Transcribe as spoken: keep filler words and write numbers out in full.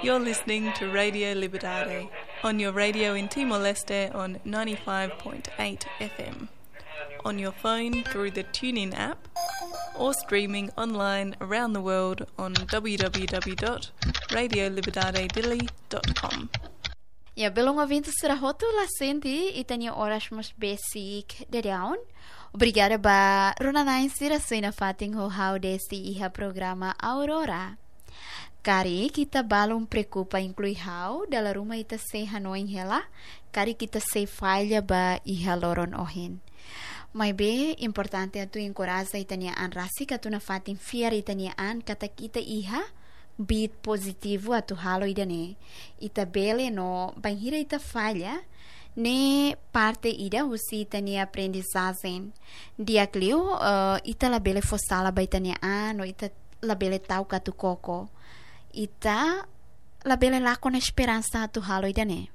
You're listening to Radio Liberdade on your radio in Timor-Leste on ninety-five point eight F M, on your phone through the TuneIn app, or streaming online around the world on w w w dot radio liberdade dili dot com. Ya, belun ouvinte sira hotu, la sente ita-nia oras mós besik daudaun. Obrigada ba rona-na'in sira sei nafatin ho ha'u desde iha programa Aurora. Karik ita balun preokupa, inklui ha'u, dala ruma ita sei hanoin hela karik ita sei falla ba iha loron ohin. Maibé importante atu enkoraja ita-nia an rasik atu nafatin fiar ita-nia an katak ita iha beat pozitivu atu halo ida-ne'e. Ita bele no bainhira ita falla, ne'e parte ida husi ita-nia aprendizajen. Di'ak liu, eh, ita labele fó sala ba ita-nia an, no ita labele ta'uk atu koko. Ita labele lakon esperansa atu halo ida-ne'e.